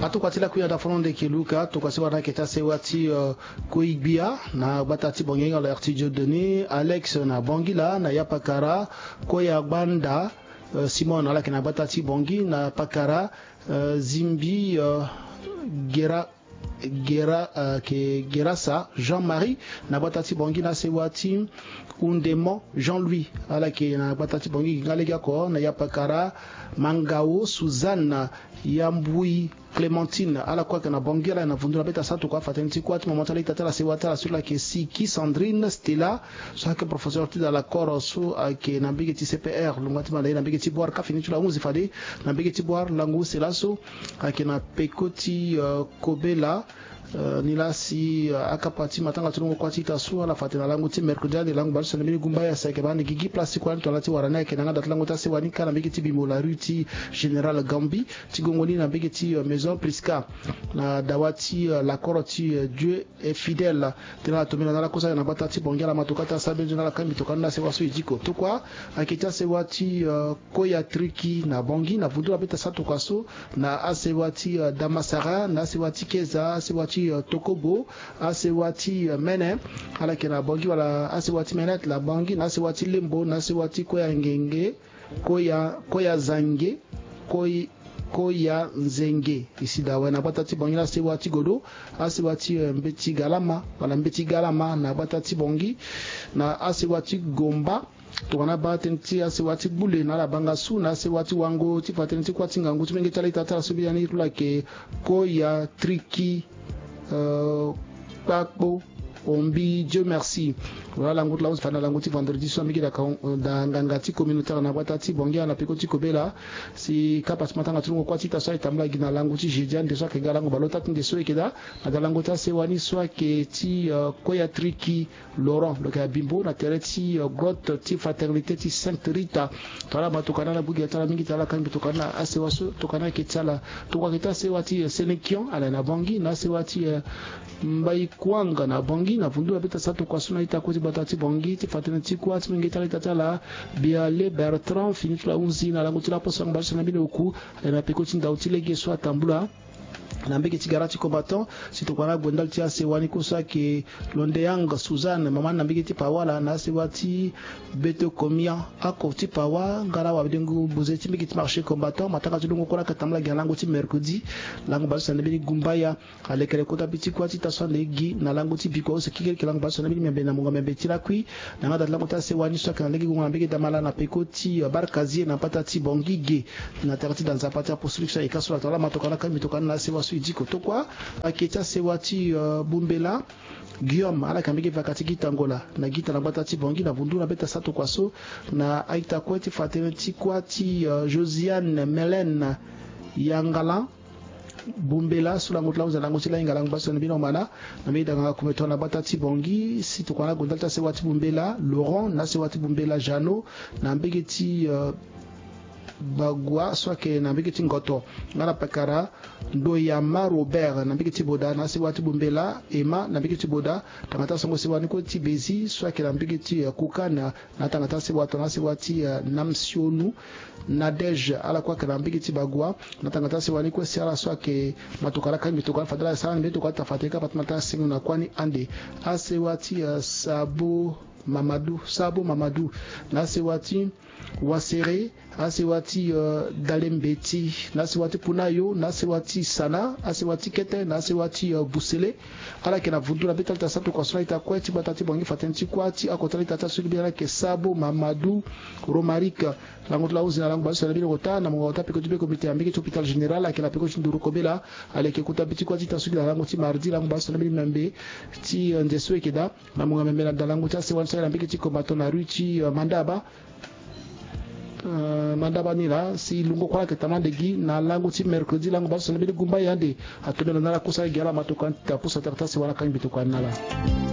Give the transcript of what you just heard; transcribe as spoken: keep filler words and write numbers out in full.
Atokua ti lakui na dafono ndeke luka tokua sewa na yeke ti asewa ti, euh, Koigbia na gbata ti Bangui, Arthur Dieudonné, Alex na Bangui laa, na Yapakara, Koya Gbanda, euh, Simon, ala yeke na gbata ti Bangui, na Pakara, euh, Zimbi, euh, Gera, Gera, euh, ke Gerasa, Jean-Marie, na gbata ti Bangui, na asewa ti Undemon, Jean-Louis, ala yeke na gbata ti Bangui, gi nga lege oko, na Yapakara, Mangao, Suzanne, Yambui, Clémentine, ala kue ayeke na Bangui, ala na vundu na beta sa tokua afa tënë ti kuâ ti mama ti ala ita ti ala sewa ti ala so la yeke Siki, Sandrine, Stella, so ayeke professeur ti da lakoro so ayeke na mbege ti C P R, longua ti manda ye na mbege ti Boire, ka fini ti lo ahunzi fade na mbege ti Boire, lango use laso ayeke na peko ti, euh, Kobela, euh, ni la si, euh, akapa ti matanga ti longo kuâ ti ita so ala fa tene na lango ti mercredi ande, lango bale so na mbeni gumbaya si ayeke baa ni gigi place ti kuâ ni tongana ti wara ni ayeke na yanga da ti lango ti asewa ni ka na mbege ti Bimbo, la rue ti Général Gambi, ti gongo ni na mbege ti, euh, Maison Prisca, na dawa ti, euh, lakoro ti, euh, Dieu est fidèle. Tena ala tombela na ala kosa na gbata ti Bangui, ala ma tokua ti asara mbeni zo na ala kangbi tokua ni na asewa so e diko. Tokua ayeke ti asewa ti, euh, Koya Triki na Bangui, na vundu na beta sa tokua so, na asewa ti, euh, Damasara, na asewa ti Keza, asewa ti, euh, Tokobo, asewa ti, euh, Mene, ala yeke na Bangui, wala asewa ti Mene na Bangui, na asewa ti Lembo, na asewa ti Koya Ngenge, Koya, Koya Zange, Koy-, Koya Nzenge. E si da awe na gbata ti Bangui na asewa ti Godo, asewa ti, euh, Mbeti Galama, wala Mbeti Galama na gbata ti Bangui, na asewa ti Gomba, tongana baa tënë ti asewa ti Gbule na ala banga su, na asewa ti Wango, ti fa tënë ti kuâ ti ngangu ti menge ti ala ita ti ala so biani lo ayeke Koya Triki, euh, Kpakpo, Ombi, Dieu merci. Wala lango ti la use fade na lango ti vendredi so na mbege da, da nganga ti communautaire na gbata ti Bangui na peko ti Kobela. Si kapa ti matanga ti longo kuâ ti ita so ayeke tambula gi na lango ti jeudi ande so ayeke ga lango bale ota ti nde so e yeke daa, na da lango ti asewa ni so ayeke ti, euh, Koya Triki Laurent, lo yeke na Bimbo na tere ti, euh, grotte ti Fraternité ti Sainte Rita. Tongana ma tokua ni ala gbu gi na ti ala mingi ti ala kangbi tokua ni na asewa so tokua ni ayeke ti ala. Tokua ayeke ti asewa ti, euh, Sélékion, ala na Bangui, na asewa ti, euh, Mbaï Kouang na Bangui, na vundu na beta sa tokua so na ita kue ti gbata ti Bangui, ti fa tënë ti kuâ ti menge ti ala ita ti ala, Biale Bertrand, fini ti lo ahunzi na lango ti laposo lango bale so na mbeni oku, ala na peko ti ndau ti lege so atambula na mbege ti gara ti combattant. Si tokua na ague ndali ti asewa ni kue so ayeke Londeyang Suzanne, mama ni na mbege ti Pawa, ala na asewa ti Beto Komia, oko ti Pawa, nga na wadengo boze ti mbege ti marché combattant. Matanga ti longo kue la ayeke tambula gi na lango ti mercredi, lango bale so na mbeni gumbaya. Alekere kota bi ti kuâ ti ita so ande gi na lango ti bikua use kekereke, lango bale so na mbeni miambe na mungo miambe ti lakui. Na yanga da ti lango ti asewa ni so ayeke na lege gongo na mbege damala na peko ti, euh, Barkazie na mbata ti Bangui ge, na tere ti da nzapa ti apostolique so ayeke ka so la. Tongana ma tokua ni akangbi tokua ni na asewa so e diko. Tokua ayeke ti asewa ti, euh, Bumbela Guillaume, ala yeke na mbege vaka ti Gita Ngola na Gita na gbata ti Bangui, na vundu na beta sa tokua so, na a-ita kue ti fa tënë ti kuâ ti, euh, Josiane Mélène Yangala Bumbela, so lango ti la ahunzi na lango ti lahinga, lango bale so na mbeni omana, na mbeni danganga kume tongana gbata ti Bangui. Si tokua na ague ndali ti asewa ti Bumbela Laurent, na asewa ti Bumbela Jeannot, na mbege ti, euh, Bagua so ayeke na mbege ti Ngoto, nga na pakara Ndoyama Robert na mbege ti Boda, na asewa ti Bumbela Emma na mbege ti Boda, tanga ti asongo sewa ni kue ti Bezi so ayeke na mbege ti, euh, Kukana, na tanga ti asewa tongana asewa ti, euh, Namsionu Nadège, ala kue ayeke na mbege ti Bagua, na tanga ti asewa ni kue si ala so ayeke ma tokua ala kangbi tokua ni fade ala sara ni mbeni tokua ti tafa tene kapa ti ma ti asengo na kuâ ni ande. Asewa ti, euh, Sabo Mamadou, Sabo Mamadou, na asewa ti Wasere, asewa ti, euh, Dalembeti, na asewa ti Punayo, na asewa ti Sana, asewa ti Kete, na asewa ti, euh, Busele. Ala yeke na vundu na beta lita sa tokua so na ita kue ti gbata ti Bangui fa tënë ti kuâ ti oko ti ala ita ti aso ti gbia ni ayeke Sabo Mamadou Romaric. Lango ti la ahunzi na lango bale so na mbeni ota na mungo ota peko ti be komite ya mbege ti hôpital général ayeke na peko ti nduru kobela. Ala yeke kota bi ti kuâ ti ita so gi na lango ti mardi lango bale so na mbeni miambe ti, euh, nze so e yeke daa. Na mungo miambe na da lango ti asewa ni so ayeke na mbege ti combattant na rue ti, euh, Mandaba. Euh, Mandaba ni laa si lungo kue ala yeke tama ande gi na lango ti mercredi lango bale so na mbeni gumbaya ande. Atombela na ala kosa gi ala ma tokua ni ti ta poso atere ti asewa ala kangbi tokua ni na ala.